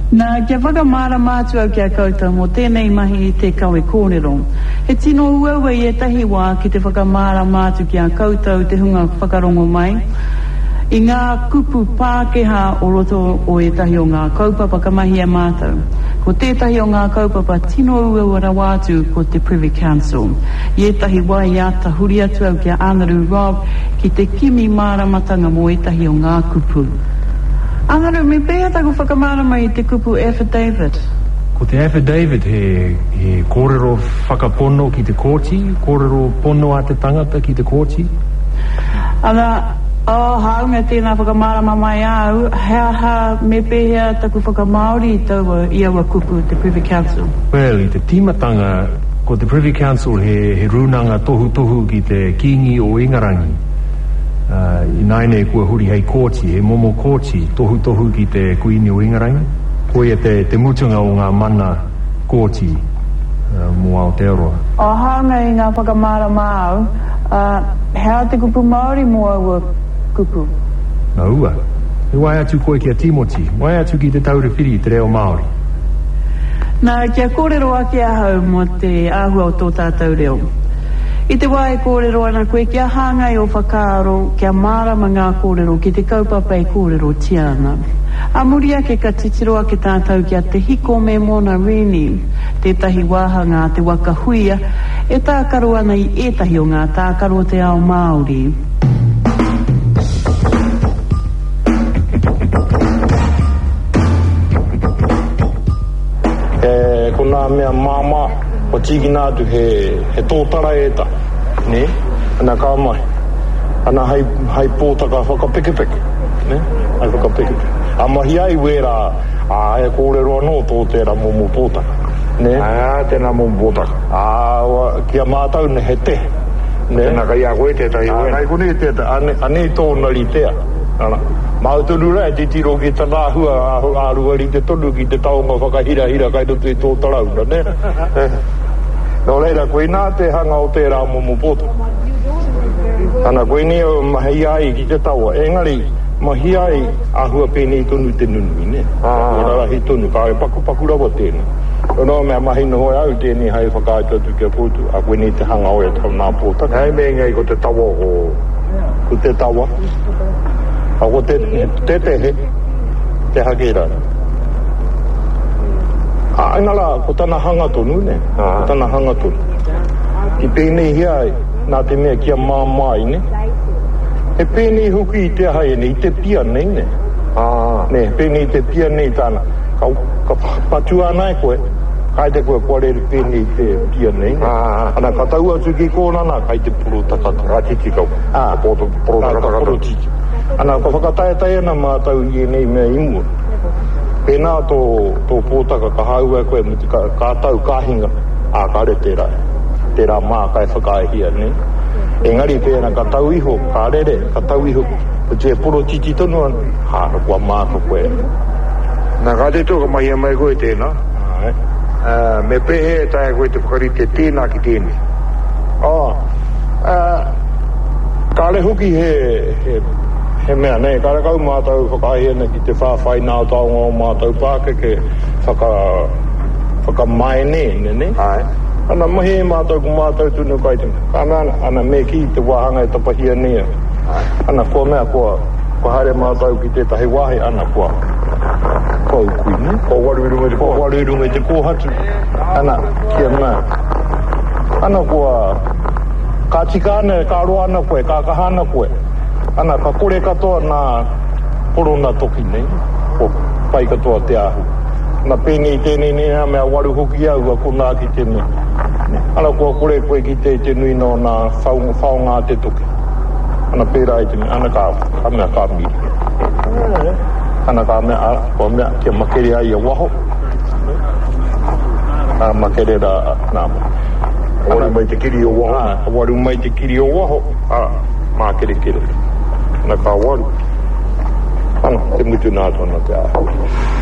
Nā, kia whakamārama atu au ki a koutou mō tēnei mahi i te kawe kōrero. He tino uaua i ētahi wā ki te whakamārama atu ki a koutou te hunga whakarongo mai, i ngā kupu Pākehā o roto o ētahi o ngā kaupapa ka mahi e mātou. Ko tētahi o ngā kaupapa tino uaua rawa atu ko te Privy Council. I ētahi wā i āta huri atu au ki a Anaru Robb ki te kimi māramatanga mō ētahi o ngā kupu. Anaru, me pēhea taku whakamārama i te kupu affidavit? Ko te affidavit he, he kōrero whakapono ki te kōti, kōrero pono a te tangata ki te kōti. Ana, oh, hāunga tēnā whakamārama mai āu, he aha, me pēhea taku whakamāori i taua, i aua kupu, te Privy Council? Well, i te tīmatanga, ko te Privy Council he, he rūnanga tohutohu ki te Kīngi o Ingarangi. Ā, ināianei kua huri hei kōti, he momo kōti tohutohu ki te Kuini o Ingarangi. Koia te, te mutunga o ngā mana kōti mō Aotearoa. Ā, hāunga i ngā whakamārama āu, ā, he aha te kupu Māori mō aua kupu? Aua. Me waea atu koe ki a Tīmoti, waea atu ki Te Taura Whiri i te reo Māori. Nā, kia kōrero ake ahau mō te āhua o tō tātou reo. I te wā e kōrero ana koe kia hāngai ō whakaaro, kia mārama ngā kōrero ki te kaupapa e kōrerotia ana. Ā muri ake ka titiro ake tātou ki a Te Hiko me Mona Rennie, tētahi wāhanga a Te Waka Huia e tākaro ana i ētahi o ngā tākaro o te ao Māori. Ko nā mea māmā. Kua tīkina atu he, he tōtara ētahi, nē, ana ka mahi. Ana hei, hei pōtaka whakapekepeke, nē, hei whakapekepeke. A mahi ai wērā, ā, he kōrero anō tō tērā momo pōtaka, nē. Ā, tēnā momo pōtaka. Ā, ki a mātou, nē, he tehe, nē. Tēnā kei a koe tētahi o ēnei. Ā, kei konei tētahi, ane, anei tōna ritea. Ana, māu tonu rā e titiro ki tana āhua, āhua rite tonu ki te taonga whakahirahira kai roto i tō tarauna, nē? Nō reira, koinā te hanga o tērā momo pōtaka. Ana, koinei au mahi ai ki te tawa, engari, mahi ai āhua pēnei tonu te nunui, nē? Āhua rarahi tonu, kāore pakupaku rawa tēnei. Nō mea mahi noho e au tēnei hai whakaatu atu ki a koutou, ā, koinei te hanga o ētahi o nā pōtaka. Hei mea engari ko te tawa ko. Ko te tawa. A ko te, te tehe, te hake ra. A ina ra, ko tana hanga tonu, ne? Ko tana hanga tonu. I pēneihia ai, nā te mea kia māmā ai, ne? He pēnei hoki i te aha ēnei, i te pia nei, ne? Ne, he pēnei i te pia nei tāna. Ka, ka patua ana e koe, kāite koe kua rere pēnei te pia nei, ne? Ana, ka tau atu ki kōna nā, kai te porotakata. Ka titi kau. Ā, Ka porotiti. Ana, ka whakataetae ana mātou i ēnei mea i mua. Pēnā tō, tō pōtaka ka hāua e koe me te ka, ka tau, ka hinga, ā, kāre tērā, tērā māka e whakaaehia, nē. Engari pēnā ka tau iho, ka rere, ka tau iho, ko te porotiti tonu ana, hā, kua māka koe. Nā, ka tito ka mahia mai koe tēnā. Āe. Ā, me pēhea e taea koe te whakarite tēnā ki tēnei? Ā, ā, kāre hoki he, he, he mea, nē, karekau mātou whakaae ana ki te whāwhai nā taonga o mātou pākeke whaka, whakamaeneene, nē? Āe. Ana, mahi e mātou ko mātou tonu kai te mea. Ka mea ana, ana, me kī te wāhanga e tapahia nei au. Āe. Ana, kua mea, kua, kua haere mātou ki tētahi wāhi, ana, kua, kua ukui, nē? Kua waru i runga i te kōhatu. Kua waru i runga i te kōhatu. Ana, kia mea. Ana, kua, ka tika ana, ka roa ana koe, ka kaha ana koe. Ana, ka kore katoa nā korona toki nei, kua pai katoa te āhua. Ana, pēnei tēnei nei nā mea waru hoki au a konā ki te mea. Ana, kua kore koe ki te, te nui nō nā whaonga a te toki. Ana, pērā i te mea, ana, ka, ka mea, ka miri. Ana, ka mea, a, kua mea, kia makere ai a waho. Ka makere rā, nā. Ka waru mai te kiri o waho. Ā, ka waru mai te kiri o waho, ā, mākerekere. Ana ka waru. Ana, te mutu nā tona te āhua.